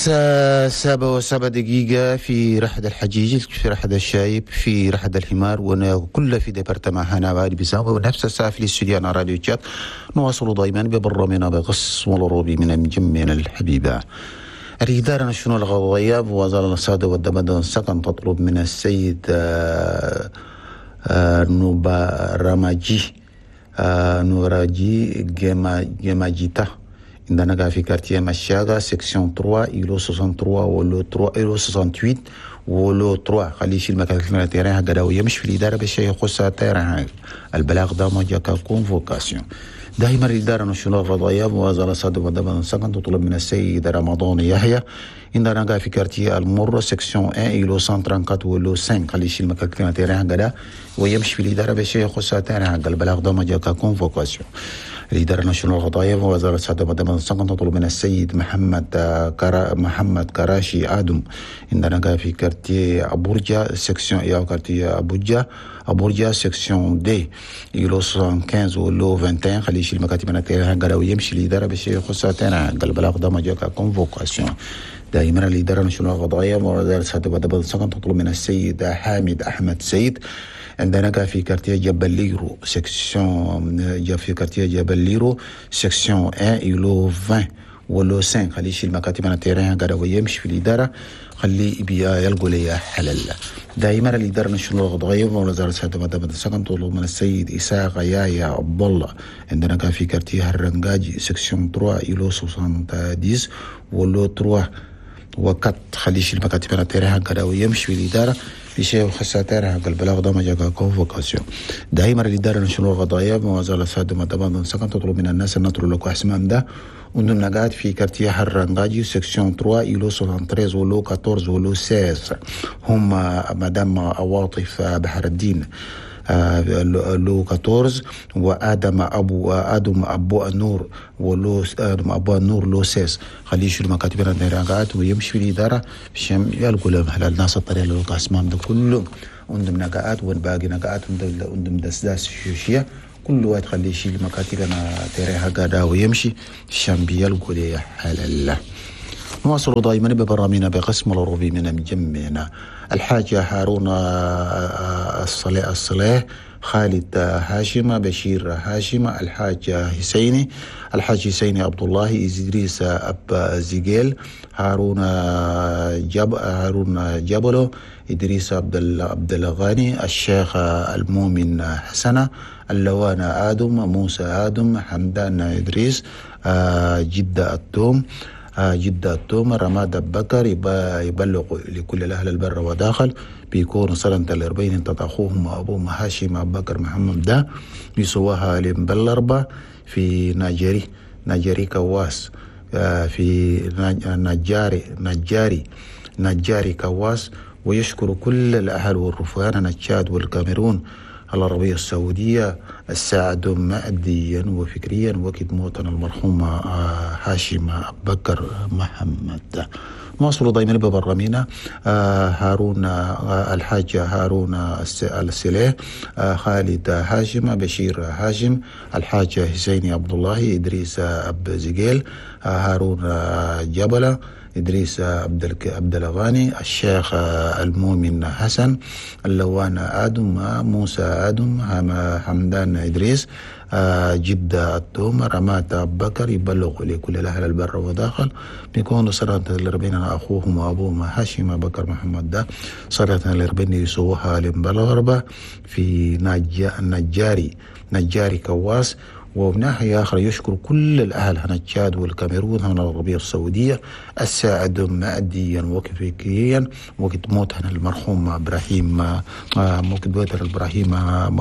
الساعة 7:07 في رحد الحجيج، في رحد الشايب، في رحد الحمار، وكل في département هنا بعد بسام، ونفس الساعة في الاستوديو راديو تشاد. نواصل دائما ببرنامجنا بقسم الروبي من مجمعنا الحبيبة. الإدارة الشؤون الغضائية بوزارة الصادة والدمد السكن تطلب من السيد نوبا راماجي نوراجي جيماجيتا عندنا في quartier مشاغا section 3 îlot 63 و lot 3 îlot 68 و lot 3. خليه يشيل مكان terrain هكذا ويمشي في الإدارة باش يخص terrain. البلاغ ده ما جاك convocation. دائما الإدارة الشؤون القضائية بوزارة الصادة والدمد السكن تطلب من السيد رمضان يحيى عندنا في quartier المر section 1 îlot 134 و lot 5. خليه يشيل مكان terrain هكذا ويمشي في الإدارة باش يخص terrain هكذا. البلاغ ده ما جاك convocation. الإدارة الناشونال القضائية ووزارة الصحة والدم السكن تطلب من السيد محمد كراشي آدم عندنا في quartier أبورجا section يا quartier أبورجا section deux îlot 75 و lot 21. خليه يشيل مكاتب التيران ويمشي الإدارة باش يخص terrain. البلاغ ده ما جاك convocation. دائما الإدارة الناشونال القضائية ووزارة الصحة والدم السكن تطلب من السيد حامد أحمد سيد عندنا في quartier جبل ليرو section في quartier جبل ليرو section 1 îlot 20 و lot 5. خليه يشيل مكاتب ال terrain قاعد ويمشي في الإدارة خليه يلقوا لي حلل. دائما الإدارة الناشونال القضائية ووزارة الصحة والدم السكن تطلب من السيد إسحاق يايا عبد الله عندنا في quartier الرنجاجي section 3 îlot 70 و lot 3 و4. خليه يشيل مكاتب ال terrain قاعد ويمشي في الإدارة في شيء وخساتير حق البلاغ ده ما جاك convocation. دائما الإدارة الناشونال القضائية بوزارة الصحة والدم السكن تطلب من الناس أن نطلب لكم اسمام ده وندم قاعد في quartier حرنجاجي section 3 îlot 73 و lot 14 و lot 16. هم مدام عواطف بحر الدين lot 14 وادم ابو النور و lot ادم ابو النور lot 16. خليه يشيل مكاتب النيرانات ويمشي في الادارة باش يلقوا لهم حلال الناس الطريق اللي اسمام ده كلهم عندهم نقاءات والباقي نقاءات عندهم دسداس شوشيه كل واحد خليه يشيل مكاتب انا تريها قاعدة ويمشي عشان بيلقوا لي حلال. نواصل دائما ببرامجنا بقسم الروبي من مجمعنا الحاج هارون الصلاح خالد هاشم بشير هاشم الحاج حسيني الحاج حسيني عبد الله إدريس أب زيجيل هارون جبلو إدريس عبد الغني الشيخ المؤمن حسنة اللوان آدم موسى آدم حمدان إدريس جدة التوم جدة التوم رماد بكر يبلغ لكل الأهل البر وداخل بيكون سنة الأربعين انت أخوهم وأبوهم هاشم أبو بكر محمد ده بيسواها لمبلربة في ناجري كواس في نجاري كواس. ويشكر كل الأهل والرفان التشاد والكاميرون العربية السعودية الساعد ماديا وفكريا وقت موتنا المرحوم هاشم أبو بكر محمد. نواصل دائما ببرامجنا هارون الحاج هارون السليه خالد هاشم بشير هاشم الحاج حسيني عبد الله إدريس أب زجيل هارون جبلة إدريس عبد الغني الشيخ المؤمن حسن اللوان آدم موسى آدم حمدان إدريس جدة التوم رمات بكر يبلغ لكل الأهل البر وداخل بيكون صلاة الأربعين أخوهم وأبوهم هاشم بكر محمد ده صلاة الأربعين يسووها لمبلغربة في نجاري كواس. وبناحية آخرى يشكر كل الأهل هنا التشاد والكاميرون هنا العربية السعودية الساعد ماديا وفكريا وقت موت هنا المرحوم إبراهيم وقت موت إبراهيم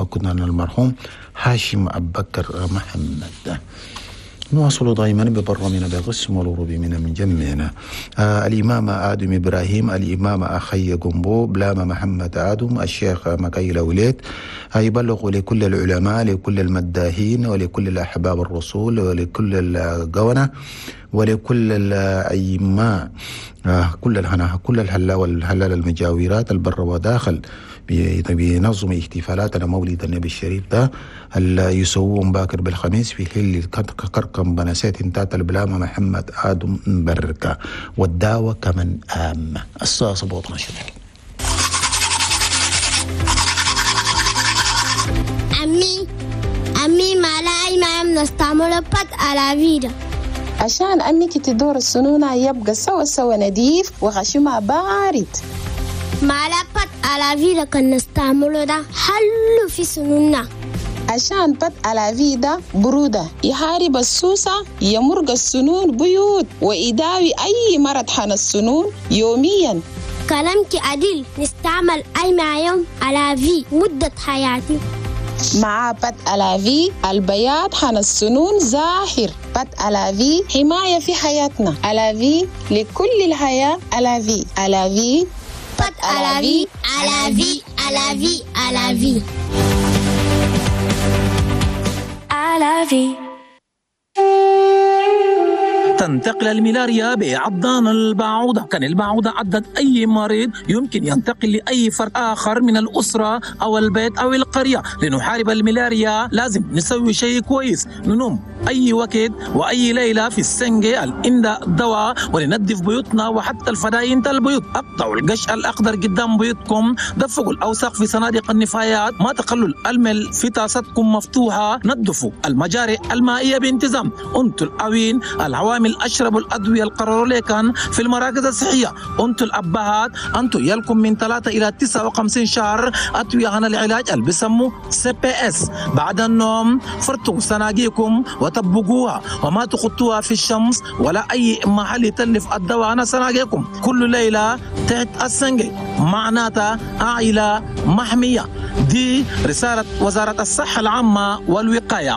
كنا المرحوم هاشم أبو بكر محمد. نواصل دائما ببرنامجنا بقسم الروبي من جمعنا الإمام آدم إبراهيم الإمام أخي جنبو بلاما محمد آدم الشيخ مكايل وليد يبلغوا لكل العلماء، لكل المداهين، ولكل الأحباب الرسول، ولكل القونة، ولكل الأئمة، كل الهنا، كل الهلا والهلال المجاورات البر وداخل بنظم احتفالاتنا مولد النبي الشريف ده اللي يسوون باكر بالخميس في حل كركم بنسيت تات البلامة محمد آدم بركة والدعوة كمن آم الساعة 17. أمي ما لا ما نستعمل pâte à la vie. عشان أمك تدور السنونة يبقى سوا سوا نظيف وخشمها بارد. ما لا pâte à la vie كان نستعمله ده حلو في سنوننا. عشان pâte à la vie ده برودة يحارب السوسة، يمرق السنون بيوت، ويداوي أي مرض حن السنون يوميا. كلامك عديل، نستعمل أي مع يوم à la vie مدة حياتي. مع pâte à la vie البياض حن السنون زاهر. pâte à la vie حماية في حياتنا. à la vie لكل الحياة. à la vie à la vie pâte à la vie à la vie à la vie à la vie à la vie. تنتقل الملاريا بعضان البعوضة. كان البعوضة عضت أي مريض يمكن ينتقل لأي فرد آخر من الأسرة أو البيت أو القرية. لنحارب الملاريا لازم نسوي شيء كويس، ننوم أي وقت وأي ليلة في السنجة الإندا الدواء، ولننظف بيوتنا وحتى الفداين البيوت. أقطعوا القش الأخضر قدام بيوتكم، دفقوا الأوساخ في صناديق النفايات، ما تخلوا المل في طاستكم مفتوحة، نظفوا المجاري المائية بانتظام. أنتوا الأوين العوامل أشربوا الأدوية القرروا لكن في المراكز الصحية. أنتوا الأبهات أنتوا يلكم من 3 إلى 59 شهر أدوية عن العلاج اللي بيسموه CPS. بعد النوم فرتوا صناديقكم وطبقوها وما تخطوها في الشمس ولا أي محل يتلف الدواء عن صناديقكم. كل ليلة تحت السنجي معناتها عائلة محمية. دي رسالة وزارة الصحة العامة والوقاية.